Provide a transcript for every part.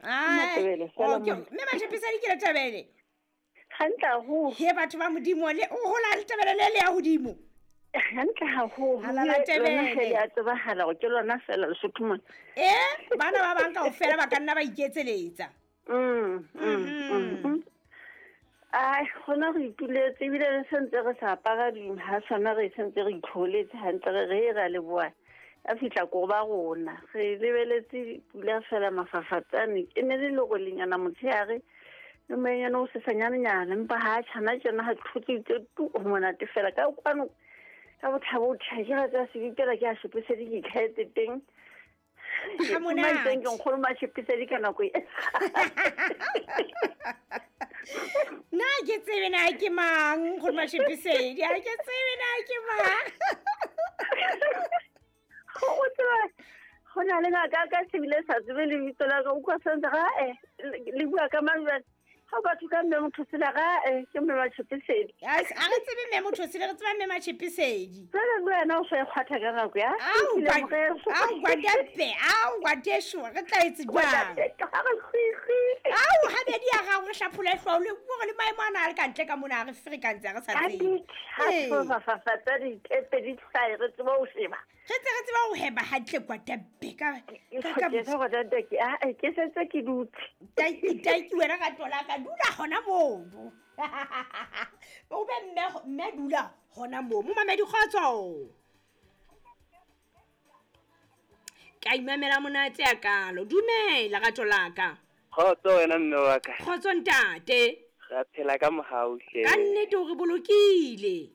Matebele fela mona. Mme Matšhepisedi ke Letebele. Hantle haholo. He batho ba Modimo le o hola Letebele le le ya hodimo. Hantle haholo. Halala Ebile Tebele. lona he le a tsebahala gore ke lona fela Lesotho mona. E bana ba bang kaofela ba ka nna ba iketseletsa. Ai, gona re ituletse ebile re sentse re sa apara dihasana, re sentse re itlholetse hantle, re re ra leboa a fihla ko ba rona re lebeletse pula fela mafafatsane e ne le lerolinyana motshehare le moenyana o sesanyanenyana, empa ha tjhana tjena ha thotse tu ho monate fela ka kwano ka bothabo o tjha ke ratsa sebipela ke a shepisedi ke itlhaetse teng. Ha monate. Ke nkgono Matšhepisedi ka nako e. Nna ke tsebe na ke mang nkgono Matšhepisedi, ha ke tsebe na ke mang. Go tseba go na le ngaka ka sebile sa tsebe lebitso la ka, o utlwa sentse ga e le bua ka mang jwale? Ha batho ka mme motho sela ga e ke mme Matšhepisedi. A re tsebe mme motho sele, re tseba mme Matšhepisedi. Jwale le wena o so e kgwatha ka nako ya? Ao, Ke ile moreso. Ao, ngwatepe, ao, ngwateso, re tla etse jwang? Ga re kgwikgwi. Ao, habedi ya gago re hlaphola hlooho le gore le maemo ana a le ka ntle ka mona, a re ferekantse, ha re sa Ka tsebe. di Ee. thato mafafatsa ditepe di hlae, re tseba ho sheba. Re tse re tseba ho heba hantle kwatepe ka Ke se go ke a ke setse ke dutse. Tanki, tanki wena ka tola ka dula hona mono. O be mme, mme dula hona moo. Momamedi kgotso. Ka imamela monate ya kalo. Dumela rato la ka. Kgotso wena mme wa ka. Kgotso ntate. Re phela ka mohau hle. Ka nnete o re bolokile.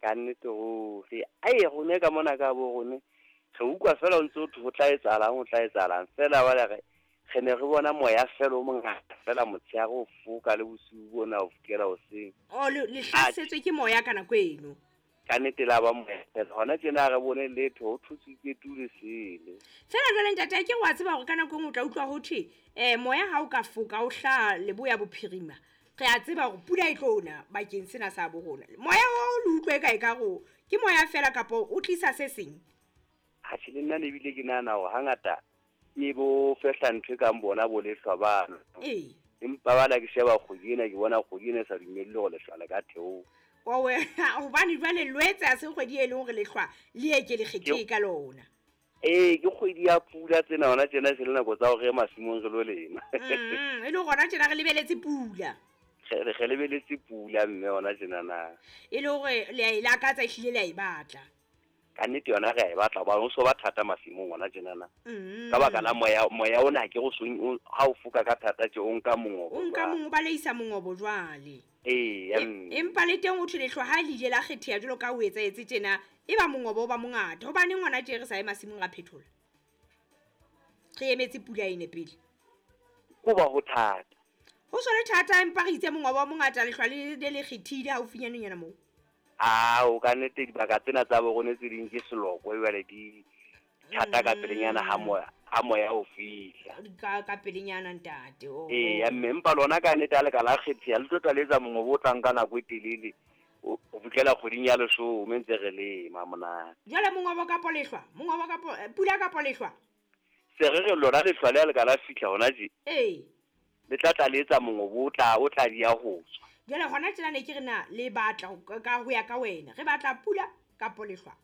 Ka nnete ruri. Ai, rone ka mona ka bo rone. Re utlwa fela o ntse o thwe ho tla etsahalang, ho tla etsahalang. Fela wa re re ne re bona moya fela o mongata fela motshehare o foka le bosiu bona o fokela hoseng. O le hlasetswe ke moya ka nako eno. Ka nnete la ba moya fela. Hona tjena ha re bone letho, ho thutsitse tu le sele. Fela jwale ntate, ke wa tseba hore ka nako e nngwe o tla utlwa ho thwe, moya ha o ka foka o hlaha leboya bophirima. Re a tseba hore pula e tlo na bakeng sena sa bo rona. Moya o le utlwe kae ka ro? Ke moya fela kapa o tlisa se seng? Ha tjhe, le nna ne ebile ke nahana hore hangata ke bo fehla ntho e kang bona bo lehlwa bano. Ee. Empa bana ke sheba kgwedi ena, ke bona kgwedi ena e sa dumelle hore lehlwa le ka theoha. Owe, hobane jwale Lwetse ha se kgwedi e leng hore lehlwa le eke le kgethehe ka lona. Ee, ke kgwedi ya pula tsena hona tjena, se le nako tsa hore re ye masimong re lo lema. E le hore hona tjena re lebeletse pula. Re lebeletse pula mme hona tjena na. E le hore le a e lakatsa, ehlile le a e batla. Ka nnete yona re a e batla, hobane ho so ba thata masimong hona tjena na. Ka baka la moya, moya ona ke o seng o, ha o foka ka thata tje, o nka mongobo O nka jwale. mongobo, ba leisa mongobo jwale. Ee, ya mme. Empa le teng o thwe lehlwa ha le ile la kgetheha jwalo ka o etsahetse tjena, e ba mongobo o ba mongata. Hobaneng ngwana tje re sa ye masimong ra phethola? Re emetse pula ene pele. Ho ba ho thata. Ho so le thata, empa re itse mongobo o mongata, lehlwa le le kgethile haufinyanenyana moo. Ao, ka nnete dibaka tsena tsa bo rona tse ding ke seloko, jwale di thata ka pelenyana ha moya, ha moya o fihla. Ka pelenyana ntate, oh. Ee, ya mme, empa lona ka nnete ha le ka la kgetheha, le tlo tla le etsa mongobo o tlang ka nako e telele, o fihlela kgweding ya leshome ntse re lema monate. Jwale mongobo kapo lehlwa, mongobo kapo, pula kapo lehlwa? Se re re lona lehlwa le ha le ka la fihla hona tje. Ee. Le tla tla le etsa mongobo o tla di ya ho tswa. Jwale hona tjena ne ke re na le batla ho ka ho ya ka wena. Re batla pula kapo lehlwa?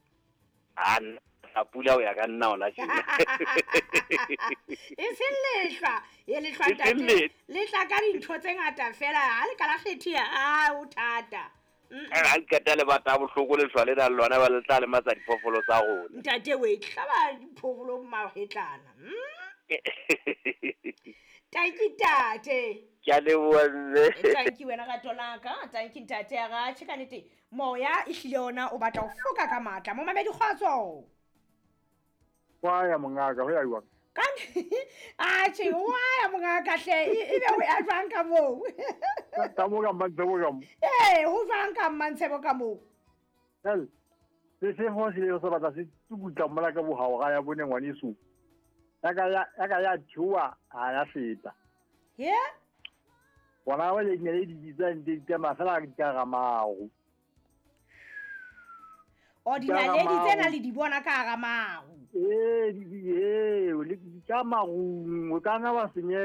A nna batla pula ho ya ka nna hona tjena. E seng lehlwa, e lehlwa E seng ntate. lehlwa. Le tla ka dintho tse ngata fela, ha le ka la kgetheha, a o thata. Ha le qeta le batla bohloko lehlwa le nang le lona, ba le tla lematsa diphoofolo tsa rona. Ntate we, hlaba diphoofolo mahetlana. Tanki ntate. Ke a leboha mme. Tanki wena rato la ka, tanki ntate ya ra, tjhe ka nnete, moya ehlile ona o batla ho foka ka matla. Momamedi kgotso. Wa ya mongaka, ho ya jwang? Ka a tjhe, wa ya mongaka hle, ebe ho ya jwang ka moo? Ka moo ka Mmantshebo ka moo. Ee, ho jwang ka Mmantshebo ka moo? Hell, se se ho se le se batla se tsukutla mola ka bohao ya bone ngwaneso. Ya ka ya, ya ka ya theoha, ha ya feta. He? Bona ba le dinaledi di bitsang di tsamaya fela di ka hara maru. O Di ka hara dinaledi tsena maru. le di bona ka hara maru. Ee, di, di, ee, le di ka marung, o ka nna wa senyeha.